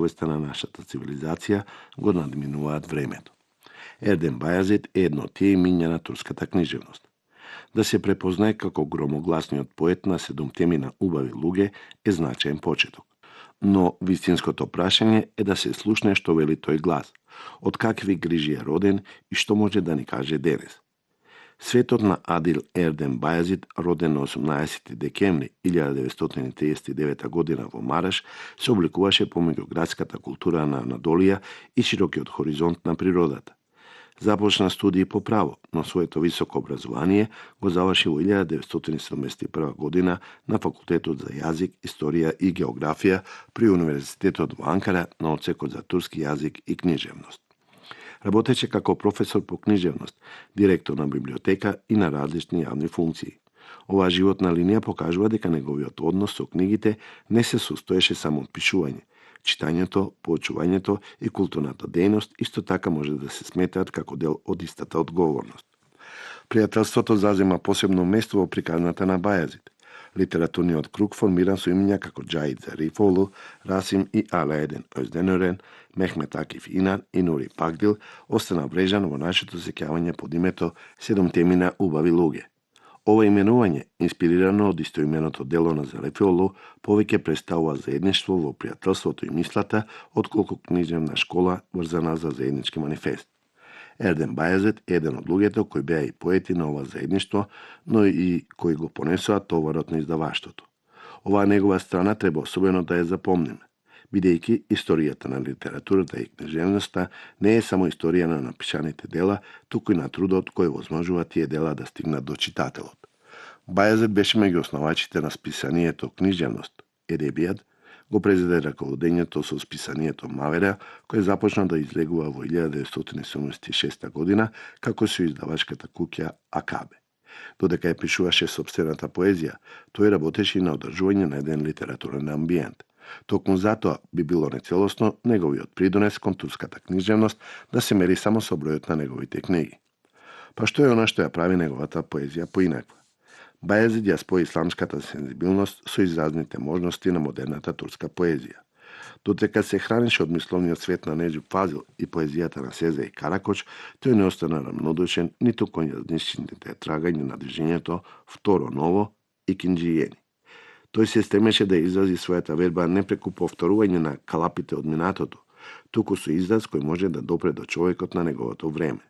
повеста на нашата цивилизација го надминуваат времето. Ердем Бајазид е едно од тие имиња на турската книжевност. Да се препознае како громогласниот поет на 7 убави луѓе е значаен почеток. Но вистинското прашање е да се слушне што вели тој глас, од какви грижи е роден и што може да ни каже денес. Светот на Адил Ердем Бајазид, роден на 18 декември 1939 година во Мараш, се обликуваше помеѓу градската култура на Анадолија и широкиот хоризонт на природата. Започна студии по право, но своето високо образование го заврши во 1971 година на Факултетот за јазик, историја и географија при Универзитетот во Анкара на одсекот за турски јазик и книжевност. Работеше како професор по книжевност, директор на библиотека и на различни јавни функции. Оваа животна линија покажува дека неговиот однос со книгите не се состоеше само од пишување. Читањето, поучувањето и културната дејност исто така може да се сметаат како дел од истата одговорност. Пријателството зазема посебно место во приказната на Бајазид. Литературниот круг формиран со имиња како Џаид Зарифоглу, Расим и Алаедин Озденорен, Мехмет Акиф Инан и Нури Пагдил остана врежан во нашето сеќавање под името 7 убави луѓе. Ова именување, инспирирано од истоименото дело на Зарифоглу, повеќе представува заедништво во пријателството и мислата, отколку книжевна школа врзана за заеднички манифест. Ердем Бајазид е еден од луѓето кои беа и поети на ова заедништво, но и кои го понесоа товарот на издаваштвото. Оваа негова страна треба особено да ја запомниме, бидејќи историјата на литературата и книжевноста не е само историја на напишаните дела, туку и на трудот кој возможува тие дела да стигнат до читателот. Бајазид беше меѓу основачите на списанието Книжевност, Едебијат, го презеде раководењето со списанието Мавера, кој започна да излегува во 1976 година како со издавачката куќа Акабе. Додека ја пишуваше сопствената поезија, тој работеше и на одржување на еден литературен амбиент. Токму затоа би било нецелосно неговиот придонес кон турската книжевност да се мери само со бројот на неговите книги. Па што е она што ја прави неговата поезија поинаква? Бајазид ја спои исламската сензибилност со изразните можности на модерната турска поезија. Додека се хранеше од мисловниот свет на Неџип Фазил и поезијата на Сеза и Каракоч, тој не остана рамнодушен ниту кон јазничните трагања на движењето Второ Ново и Кинџијени. Тој се стремеше да изрази својата верба не преку повторување на калапите од минатото, туку со израз кој може да допре до човекот на неговото време.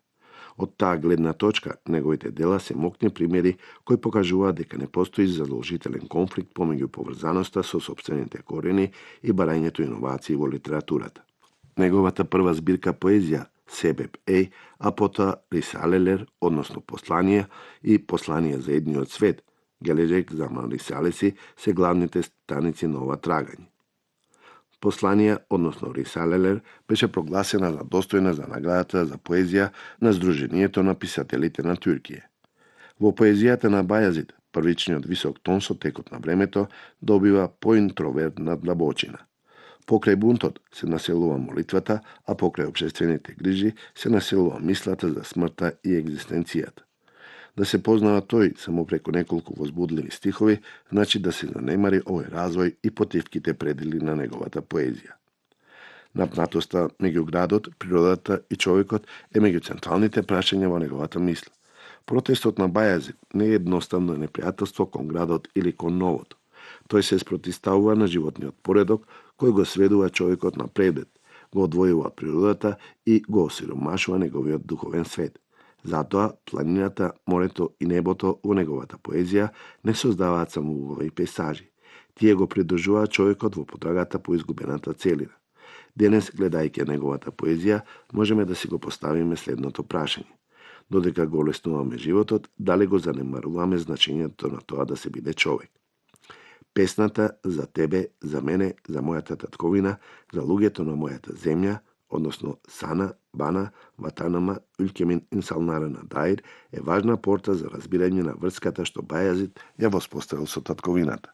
Од таа гледна точка, неговите дела се мокни примери кои покажуваат дека не постои задолжителен конфликт помеѓу поврзаноста со сопствените корени и барањето иновации во литературата. Неговата прва збирка поезија, Себеб Ей, а потоа Рисалелер, односно послание и послание за едниот свет, Геледжек за Рисалеси, се главните станици на ова трагање. Посланија, односно Рисалелер, беше прогласена за достојна за наградата за поезија на Сдруженијето на писателите на Туркија. Во поезијата на Бајазид, првичниот висок тон со текот на времето добива поинтровертна длабочина. Покрај бунтот се населува молитвата, а покрај општествените грижи се населува мислата за смртта и екзистенцијата. Да се познава тој само преку неколку возбудливи стихови, значи да се занемари овој развој и потивките предели на неговата поезија. Напнатоста меѓу градот, природата и човекот е меѓу централните прашања во неговата мисла. Протестот на Бајазид не е едноставно непријателство кон градот или кон новото. Тој се спротивставува на животниот поредок кој го сведува човекот на предет, го одвојува од природата и го осиромашува неговиот духовен свет. Затоа планината, морето и небото во неговата поезија не создаваат само убави пейсажи. Тие го придржуваат човекот во потрагата по изгубената целина. Денес, гледајќи неговата поезија, можеме да си го поставиме следното прашање. Додека го олеснуваме животот, дали го занемаруваме значењето на тоа да се биде човек? Песната за тебе, за мене, за мојата татковина, за луѓето на мојата земја, односно Сана, Бана, Ватанама, Ülkemin insanlarına dair е важна порта за разбирање на врската што Бајазид ја воспоставил со татковината.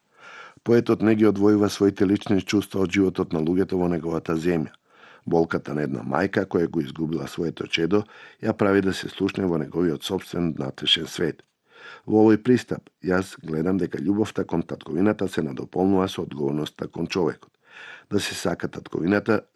Поетот не ги одвојува своите лични чувства од животот на луѓето во неговата земја. Болката на една мајка која го изгубила своето чедо ја прави да се слушне во неговиот собствен внатрешен свет. Во овој пристап, јас гледам дека љубовта кон татковината се надополнува со одговорноста кон човекот. Да се сака татковината,